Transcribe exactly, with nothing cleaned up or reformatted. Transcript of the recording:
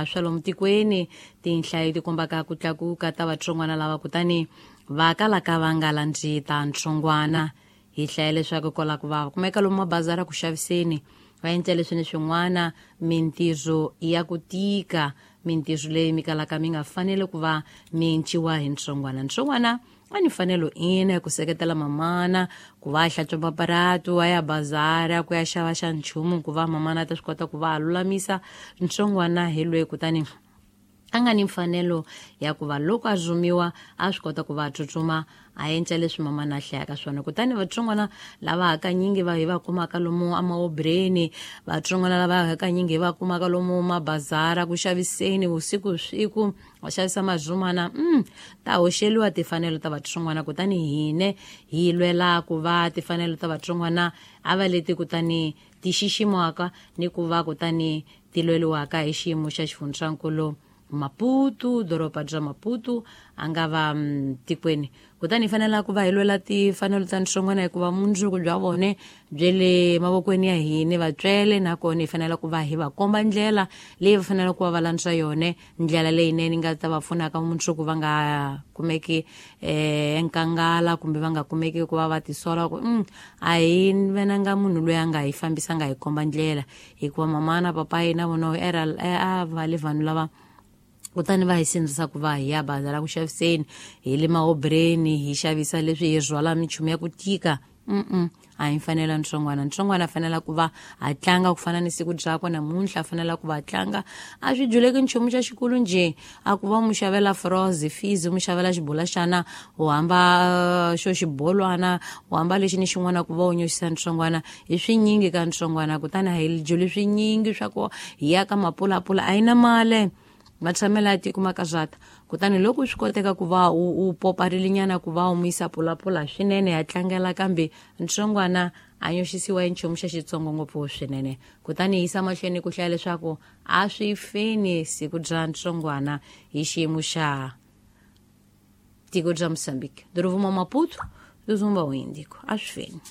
Swa lomu tikweni tinhlayo ti kombaka ku tlakuka ta vatsongwana lava kutani va kalaka va nga landzi ta ntsongwana. Hi hlaya leswaku kwala ku va kumeka lomu mabazara ku xaviseni, va endla leswi ni swin'wana mintirho ya ku tika, mintirho leyi mi kalaka mi nga fanele ku va mi enciwa hi ntsongwana. Ntsongwana a ni fanelo ina ya ku seketela mamana ku va a hlantswa maparatu, a ya bazara ku ya xava xa nchumu, ku va mamana a ta swi kota ku va a lulamisa. Ntsongwana hi loyi kutani a nga ni mfanelo ya ku va loko a zumiwa a swi kota ku va a tsutsuma a endla leswi mamana a hlayaka swona. Kutani vatsongwana lava hakanyingi va hi va kumaka lomu amaobreni, vatsongwana lava hakanyingi hi va kumaka lomu mabazara ku xaviseni vusiku siku va xavisa mazumana, mm, ta hoxeliwa timfanelo ta vatsongwana. Kutani hine hi lwela ku va timfanelo ta vatsongwana a va leti kutani ti xiximiwaka ni ku va kutani ti lweliwaka hi xiyimo xa xifundzankulu Maputo, doroba bya Maputo a nga va tikweni. Kutani hi fanela ku va hi lwela timfanelo ta ntsongwana hikuva mundzuku bya vone bye le mavokweni ya hina vatswele, nakona hi fanela ku va hi va komba ndlela leyi va faneleke ku va va landza yone, ndlela leyinene nga ta va pfunaka mundzuku va nga kumeki eh enkangala kumbe va nga kumeki ku va va tisola ku mm, a hi venanga munhu loyi a nga hi fambisa nga hi komba ndlela, hikuva mama na papa na vona era a va le vanhu lava kutani va hi sindzisa ku va hi ya bazara ku xaviseni, hi le maobreni hi xavisa leswi hi rhwala minchumu ya ku tika. Mm-mm, a hi mfanelo ntsongwana. Ntsongwana a fanela ku va a tlanga ku fana ni siku byakwe namuntlha, a fanela ku va a tlanga a swi dyuleki nchumu xa xikulu njhe, a ku va mu xavela froze fees, mu xavela xibulaxana, u hamba xo xibolwana, u hamba lexi ni xin'wana ku va u nyoxisa ntsongwana. Hi swinyingi ka ntsongwana, kutani a hi dyuli swinyingi swa ku hi ya ka mapulapula, a yi na mali matshamelo ya tiko makazata. Kutani loko swi koteka ku va u, u poparilinyana ku va u mu yisa pulapula swinene ya tlangela, kambe ntsongwana a nyoxisiwa hi nchumu xa xitsongo ngopfu swinene. Kutani hi yisa mahlweni ku hlaya leswaku a swi feni siku bya ntsongwana hi xiyimo xa tiko bya Mozambique, doroba Maputo, Zumba o Índico, a swi feni.